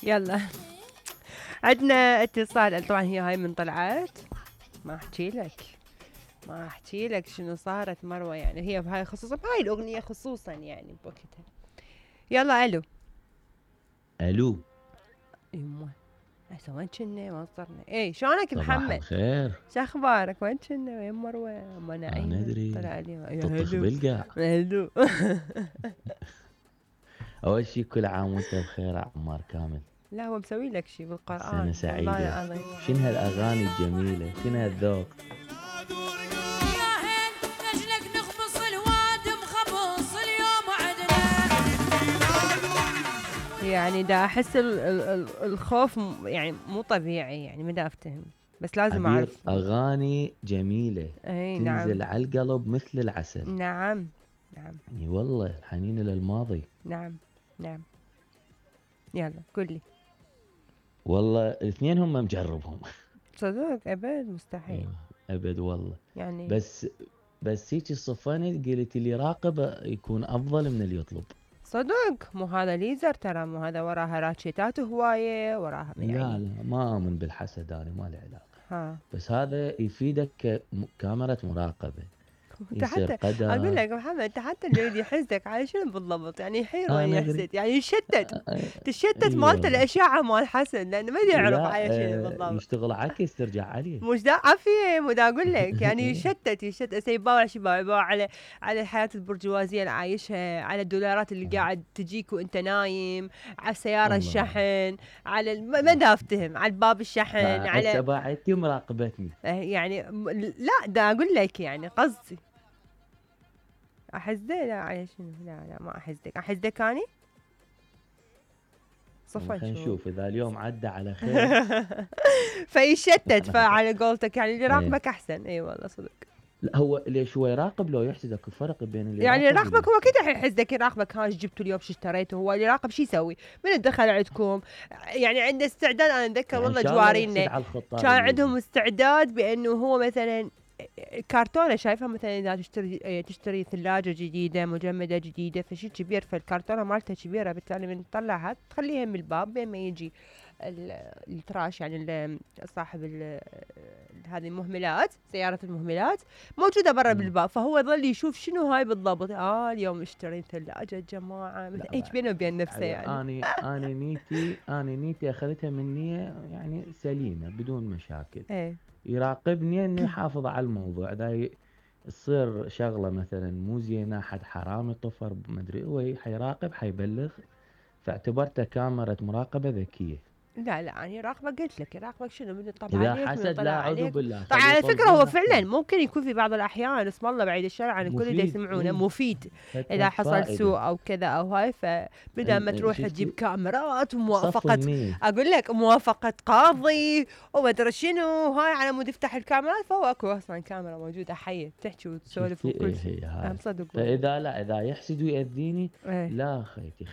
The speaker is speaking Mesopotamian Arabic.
يلا عندنا اتصال. طبعا هي هاي من طلعت ما احكي لك شنو صارت مروه، يعني هي بهاي خصوصا بهاي الاغنيه خصوصا يعني بوقتها. يلا الو. الو. يمه هسه وين كنا ما صرنا. اي شلونك صباح محمد؟ الخير. شو اخبارك؟ وين كنا؟ وين مروه؟ ما انا نعيمه ادري طلع لي يا تطخ هلو. بالقاع. هلو. اول شي كل عام وانت بخير يا عمار كامل. لا هو مسوي لك شيء سنة بالقرآن والله سعيدة. العظيم. شنو هالاغاني الجميلة، شنو هالذوق. يعني دا احس الخوف يعني مو طبيعي، يعني ما دا افتهم بس لازم عبير اعرف. اغاني جميلة اي تنزل نعم. على القلب مثل العسل. نعم نعم. اي والله الحنين للماضي. نعم نعم. يلا قولي. والله الاثنين هم مجربهم. صدق ابد مستحيل. ابد والله. يعني بس هيك صفنت قلت اللي يراقب يكون افضل من اللي يطلب. صدق مو هذا ليزر ترى، مو هذا وراها راتشيتات هوايه وراها يعني. لا ما اؤمن بالحسد، انا ما له علاقة. ها بس هذا يفيدك كاميرا مراقبة. انت يصير حتى اقول قدر. لك محمد، انت حتى اللي يريد يحسدك على شنو بالضبط؟ يعني يحير وين انا ادري. يحسد، يعني يشتت تشتت اي مالته والله. الاشعه مال حسن لانه ما يعرف لا على شنو بالضبط. يشتغل عكس ترجع عليه. مش دا عافية، مو دا اقول لك يعني يشتت هسه يباوع شي يباوع على الحياة البرجوازية اللي عايشها، على الدولارات اللي قاعد تجيك وانت نايم، على السيارة الله. الشحن، على ما دا افتهم، على الباب الشحن، هسه على باعتي مراقبتني. يعني لا دا اقول لك يعني قصدي احسده. لا على شنو؟ لا ما احسدك اني صفا خلينا نشوف. نشوف اذا اليوم عدى على خير. فيشتت، فعلى قولتك يعني اللي ايه. راقبك احسن. اي والله صدق. لا هو ليش هو يراقب لو يحسدك؟ الفرق بين اللي يعني يراقب يراقبك هو كذا يحسدك، يراقبك ها ايش جبتوا اليوم، شو اشتريتوا. هو اللي يراقب شو يسوي؟ من دخل عندكم يعني عنده استعداد. انا اتذكر يعني ان والله شاء الله يحسد جوارينا على الخطار كان اللي عندهم يجي. استعداد بانه هو مثلا كرتونه شايفه مثلا اذا تشتري ثلاجه جديده مجمده جديده فشي كبير، فالكرتونه مالتها كبيره بالتالي من تطلعها تخليها من الباب بين ما يجي التراش يعني صاحب هذه المهملات، سيارة المهملات موجودة برا بالباب، فهو يظل يشوف شنو هاي بالضبط. اليوم اشتريت ثلاجة جماعة مثل ايش بينه وبين نفسه يعني. اني نيتي اخذتها من نية يعني سليمة بدون مشاكل. ايه يراقبني اني احافظ على الموضوع اذا تصير شغلة مثلا مو زينة، حد حرامي طفر مدري هو حيراقب حيبلغ. فاعتبرتها كاميرا مراقبة ذكية. لا يعني يراقبك، قلت لك يراقبك شنو من يطلع اذا عليك من حسد يطلع لا اعوذ عليك. بالله طبعا خليه على فكرة هو يطلقون فعلا احسن. ممكن يكون في بعض الأحيان اسم الله بعيد الشر عن الكل اللي مفيد يسمعونه اي. مفيد. إذا فد حصل فائدة. سوء أو كذا أو هاي، فبدل ما تروح تجيب شفتي كاميرات صف وموافقة، النية. أقول لك موافقة قاضي وما أدري شنو هاي على مود يفتح الكاميرات، فهو أكو أصلا كاميرا موجودة حية تحكي وتسولف شفتي وكل ايه شيء. هي هاي. صدق والله. فاذا لا اذا يحسد ويأذيني إيه. لا خيتي